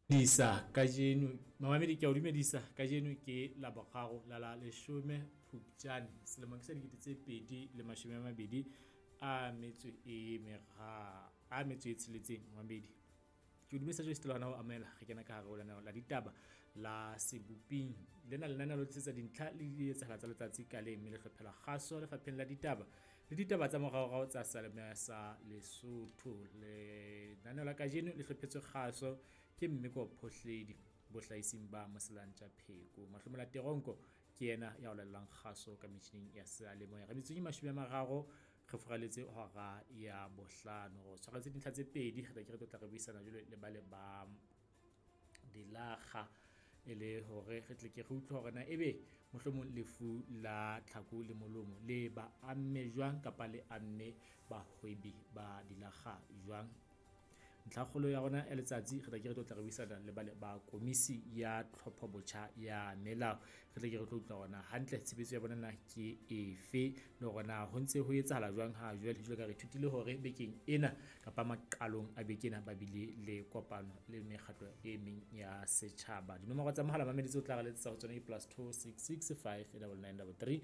Dumedisa kajeno mamamedi ke a o dumedisa kajeno ke Laboraro la la leshome Phupjane selemo ke sa 2026 a metso e tsheletseng mamamedi. Ke o dumedisa jwale sitela hona ho amohela re kena ka hare ho lenaneo la ditaba la Seboping. Lena lenaneo le tlisetsa dintlha le di etsahala tsa letsatsi ka leng, mme le hlophela kgaso lefapheng la ditaba le ditaba tsa moraorao tsa seyalemoya sa Lesotho. Lenaneo la kajeno le hlophetswe kgaso ke Mmeko Phohledi bohlaising ba Moselantja Pheko. Mahlomola Teronko ke yena ya o latelang kgaso ka metjhining ya seyalemoya. Re metsotsong e 30 re furaletse hora ya bohlano. Re tshwaretse dintlha tse pedi, re tla ke re tlo tla re buisana jwale le bale ba dilakga e le hore re tle ke re utlwe hore na ebe mohlomong lefu la tlhako le molomo le ba amme jwang kapa le amme bahwebi ba dilakga jwang. Ntlhakgolo ya rona ya letsatsi re tla ke re tlo tla re buisana le bale ba komisi ya tlhopho botjha ya melao. Re tle ke re tlo utlwa hore na hantle tshebetso ya bona na ke efe, le hore na ho ntse ho etsahala jwang ha jwale. Jwalo ka re ithutile hore bekeng ena kapa maqalong a beke ena ba bile le kopano le mekgatlo e meng ya setjhaba. Dinomoro tsa mohala mamedi tseo tla re letsetsa ho tsona ke +266 5 99 33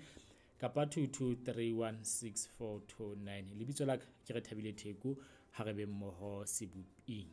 kapa 22316429. Lebitso la ka ke Rethabile Theko, ha re be mmoho seboping.